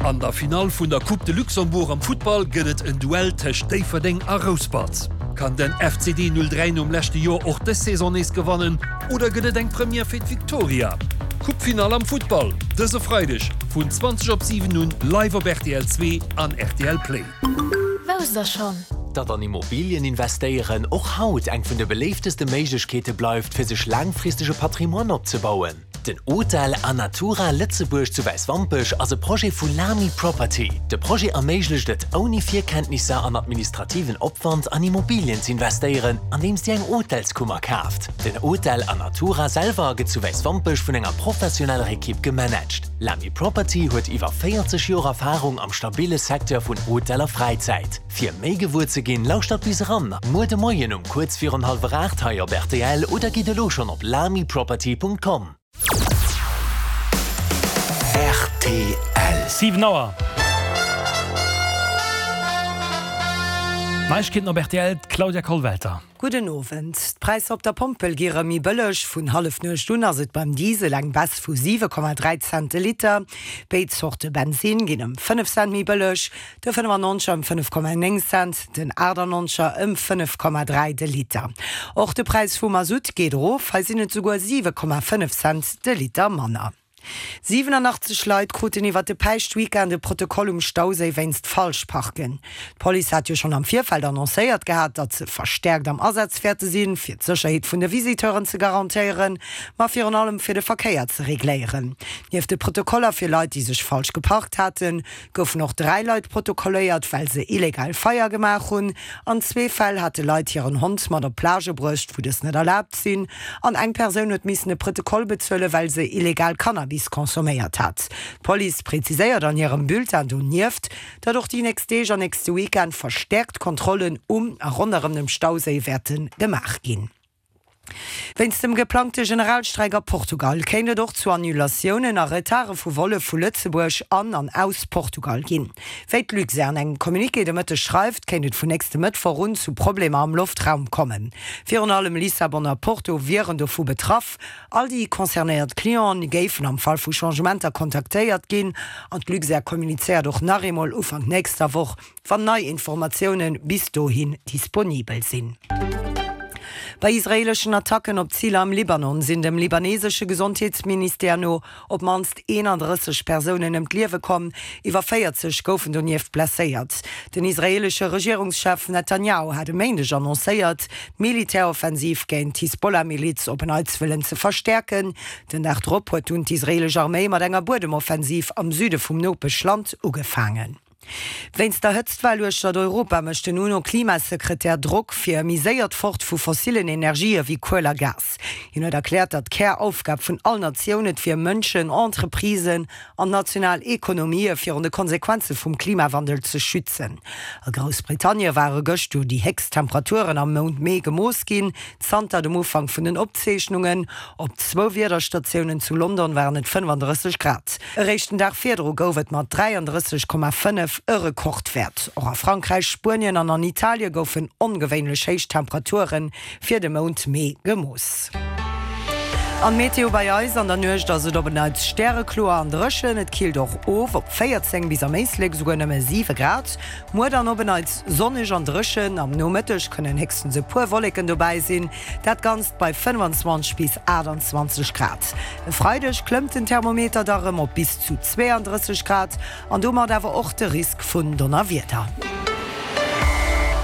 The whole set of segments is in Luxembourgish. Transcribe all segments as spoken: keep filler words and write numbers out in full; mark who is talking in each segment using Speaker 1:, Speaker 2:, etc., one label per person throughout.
Speaker 1: An der Finall vun der Coupe de Luxembourg am Futtball gëtt et en Duell tëscht Déifferdeng a Rouspert. Kann den F C D null dräi nom leschte Joer och dës Saison nees gewannen oder gëtt et eng Première fir d'Victoria? Coupe-Finall am Futtball dëse Freideg vun zwanzeg op siwen un live op R T L zwee an R T L Play.
Speaker 2: Wousst der schonn?
Speaker 3: Datt an Immobilien investéieren och haut eng vun de beléifteste Méiglechkeete bleift, fir sech laangfristege Patrimoine opzebauen? Den Hotel Anatura Lëtzebuerg zu Wäiswampech ass e Projet vu Lamy Property. De Projet erméiglecht et, ouni Virkenntnisser an administrativen Opwand an Immobilien ze investéieren, andeems Dir eng Hotelskummer kaaft. Den Hotel Anatura selwer gëtt zu Wäiswampech vun enger professioneller Ekipp gemanagt. Lamy Property huet iwwer véierzeg Joer Erfarung am stabille Secteur vun Hotel a Fräizäit. Fir méi gewuer ze ginn, lauschtert bis eran muer de Moien um kuerz virun hallwer aacht hei op R T L oder gitt elo schonn op lamyproperty Punkt com.
Speaker 4: R T L.
Speaker 5: Siwen Auer. Neiegkeeten op R T L, d'Claudia Kollwelter.
Speaker 6: Gudden Owend. D'Präisser op der Pompel gi rëm méi bëlleg. Vun Hallefnuecht un ass et beim Diesel eng Baisse vu siwe Komma dräi Cent de Liter. Béid Zorte Bensinn ginn ëm fënnef Cent méi bëlleg, de fënnefannonzeger ëm fënnef Komma néng Cent, den aachtannonzeger ëm fënnef Komma dräi de Liter. Och de Präis vum Masutt geet erof, hei sinn et souguer siwe Komma fënnef Cent de Liter manner. siwenanachtzeg Leit kruten iwwer de Päischtweekend e Protokoll um Stauséi wéinst Falschparken. D'Police hat jo schonn am Virfeld annoncéiert gehat, datt se verstäerkt am Asaz wäerte sinn, fir d'Sécherheet vun de Visiteuren ze garantéieren, ma virun allem fir de Verkéier ze regléieren. Nieft de Protokoller fir Leit, déi sech falsch geparkt haten, goufen och dräi Leit protokolléiert, well se illegal Feier gemaach hunn. An zwee Fäll hate Leit hiren Hond mat op d'Plage bruecht, wou dës net erlaabt sinn. An eng Persoun huet missen e Protokoll bezuelen, well se illegal Cannabis consomméiert hat. D'Police präziséiert an hirem Bulletin donieft, datt och déi nächst Deeg an nächste Weekend verstäerkt Kontrollen um a ronderëm dem Stauséi wäerte gemaach ginn. Wéinst dem geplangte Generalstreik a Portugal kéint et och zu Annulatiounen a Retarde vu Volle vu Lëtzebuerg an an aus Portugal ginn. Wéi d'Luxair an engem Communiqué de Mëtteg schreift, kéint et vun nächste Mëttwoch un zu Problemer am Loftraum kommen. Virun allem Lissabon a Porto wieren dovu betraff. All déi concernéiert Clienten géifen am Fall vu Changementer kontaktéiert ginn an d'Luxair kommunizéiert och nach eemol Ufank nächster Woch, wann nei Informatioune bis dohin disponibel sinn. Bei israeeleschen Attacken op Ziler am Libanon sinn dem libanesesche Gesondheetsministère no op d'mannst eenandrësseg Persounen ëm d'Liewe komm, iwwer véierzeg goufen donieft blesséiert. Den israeelesche Regierungschef Netanjahu hat e Méindeg annoncéiert, d'Militäroffensiv géint d'Hisbollah-Miliz op en Neits wëllen ze verstäerken. Den Dag drop huet dunn d'israeelesch Arméi mat enger Buedemoffensiv am Süde vum Nopeschland ugefaangen. Wéinst der Hëtztwell uechter Europa mécht den UNO-Klimasekretär Drock fir e méi séiert Fort vu fossillen Energië wéi Kuel a Gas. Hien huet erkläert, datt d'Käraufgab vun all Natioun et wier, Mënschen, Entreprisen an national Ekonomië virun de Konsequenze vum Klimawandel ze schützen. A Groussbritannie ware gëscht jo déi héchst Temperaturen am Mount Mee gemooss ginn, zanter dem Ufank vun den Opzeechnungen. Op zwou Wiederstatiounen zu London waren et fënnefandrësseg Grad. Eréischt den Dag virdru gouf et mat dräiandrësseg Komma fënnef e Rekordwäert. Och a Frankräich, Spuenien an an Italie goufen ongewéinlech héich Temperature fir de Mount Mee gemooss. An d'Meteo bei eis, An der Nuecht ass et op en Neits stärekloer an dréchen. Et killt och of op véierzéng bis am Éislek esouguer nëmme siwe Grad. Muer dann op en Neits sonneg an dréchen. Am Nomëtteg kënnen héchstens e puer Wolleken dobäi sinn. Dat Ganzt bei fënnefanzwanzeg bis aachtanzwanzeg Grad. E Freideg klëmmt den Thermometer da rëm op bis zu zweeandrësseg Grad an domat awer och de Risk vun Donnerwieder.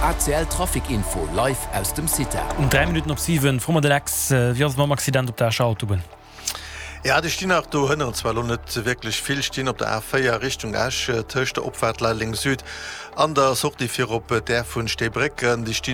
Speaker 4: A C L Trafic Info live aus dem CITA.
Speaker 5: Um dräi Minutten op siwen, froe mer de Lex, wéi ass et mam Accident op der Escher Autobunn?
Speaker 7: Ja, déi stinn nach do hënneren zwar lo net wierklech vill, stinn op der A véier Richtung Esch tëscht der Opfaart Leideleng Süd an der Sortie fir op d'Aire vun Steebrécken. Déi stinn.